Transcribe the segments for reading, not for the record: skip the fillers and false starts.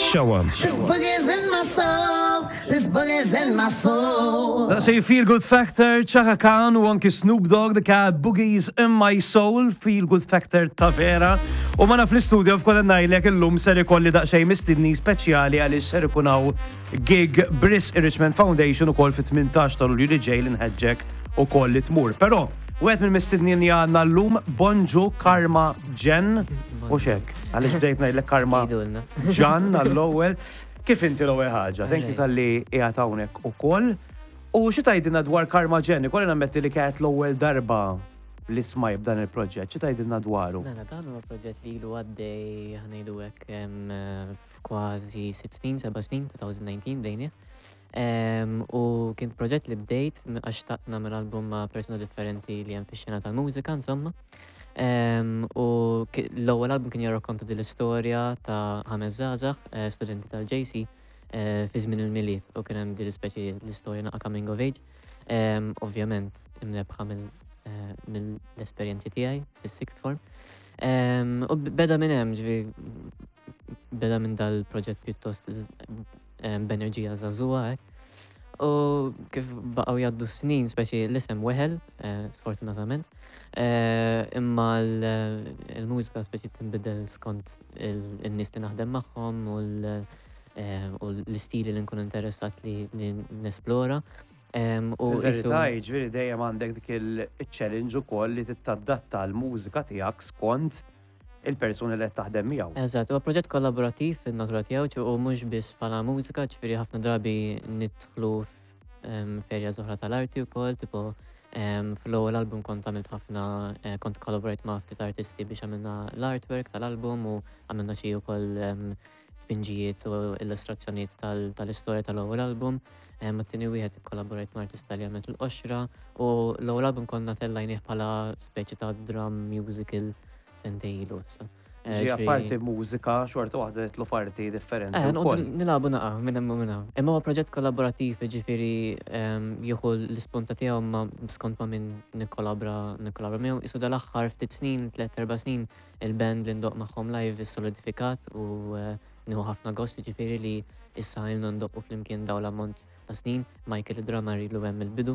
Show 'em. This boogie's in my soul. This boogie's in my soul. Daqsxejn Feel Good Factor, Chaka Khan u anki Snoop Dogg, The Cat Boogies in My Soul, Feel Good Factor ta' vera. U mana fl-istudio f'kolla ngħidlek illum ser ikolli daqsxejn mistidni speċjali għaliex ser ikun hawn gig Briss Richmond Foundation ukoll fit-18 ta' Lulju li ġej li nħeġġek ukoll li tmur. Però wieħed mill-mistednin li għandna llum Bonġu Karma Jen u xek. Għaliex bdejt ngħidlek Karma Jgħidulna. Ġan għall-ewwel. Kif inti l-ewwel ħaġa? Thank you talli qiegħed hawnhekk ukoll. U xi tgħidilna dwar Karma Jen? Ikolli nammetti li kienet l-ewwel darba li smaj b'dan il-proġett. Xi tgħidilna dwaru? Mela, dan huwa proġett li ilu għaddej ħa ngħidu hekk kważi 6 snin, 7 snin, 2019 bdejnieh. U kien proġett li bdejt għax xtaqt nagħmel album ma' persuna differenti li hemm fix-xena tal-mużika, insomma. U l-ewwel album kien jirrakkonta din l-istorja ta' ħames żgħażagħ, studenti tal-JC, fi żmien il-Milied u kien hemm din l-ispeċi l-istorja naqa' coming of age. Ovvjament imnebbħa mill-esperjenzi tiegħi fis-sixth form. U beda minn hemm, ġifieri beda minn dal-proġett pjuttost b'enerġija żagħżugħa hekk. U kif baqgħu jgħaddu s-snin, speċi l-isem weħel, sfortunatament, imma l-mużika speċi tinbidel skont in-nies li naħdem magħhom u l-istili li nkun interessat li nesplora. U Fil-verità, jiġifieri dejjem għandek dik il-challenge ukoll li titadatta l-mużika tiegħek skont il-persuni li qed taħdem miegħu. Eżatt, huwa proġett kollaborattiv fin-natura tiegħu u mhux biss bħala mużika, ġifieri ħafna drabi nidħlu f'areas oħra tal-arti wkoll, tipo fl-ewwel album kont għamilt ħafna kont kollaborajt ma' ftit artisti biex għamilna l-artwork tal-album u għamilna xi wkoll tpinġijiet u illustrazzjonijiet tal-istorja tal-ewwel album. Mat-tieni wieħed ikkollaborajt ma' artista li għamilt il-qoxra u l-ewwel album konna tellajnih bħala speċi ta' drum musical sentejn ilu issa. Ġi apparti mużika, xorta waħda nidħlu f'arti differenti. Noqogħdu nilagħbu naqa' minn hemm u minn hawn. Imma huwa proġett kollaborattiv, jiġifieri jieħu l-ispunta tiegħu ma skont ma' min nikkollabra nikkollabra miegħu. Qisu dal-aħħar ftit snin, 3-4 snin, il-band li ndoqq magħhom live issolidifikat u nieħu ħafna gost jiġifieri li issa ilna ndoqqu flimkien dawn l-ammont ta' snin. Michael id-drummer ilu hemm mill-bidu.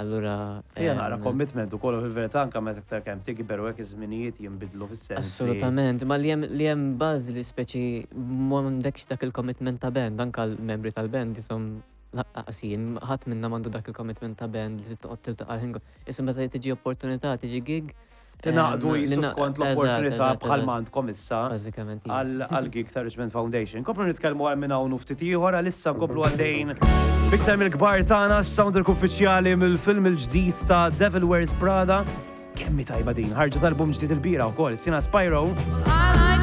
Allura. Fija naqra commitment ukoll fil-verità anke meta iktar kemm tikber u hekk iż-żminijiet jinbidlu fis-sens. Assolutament, ma li hemm li hemm bażi li speċi m'għandekx dak il-commitment ta' band, anke l-membri tal-band ishom lanqas jien, ħadd minna m'għandu dak il-commitment ta' band li toqgħod tiltaqa' l-ħin Issa meta tiġi opportunità, tiġi gig. Tingħaqdu jisu skont l-opportunità bħalma għandkom issa Bażikament. għal gig ta' Richmond Foundation. Komplu nitkellmu għal minn hawn u ftit ieħor għalissa nkomplu għaddejn biktar mill-kbar tagħna soundtrack uffiċjali mill-film il-ġdid ta' Devil Wears Prada. Kemm hi tajba din, ħarġet album ġdid il-bira wkoll, Sina Spyro.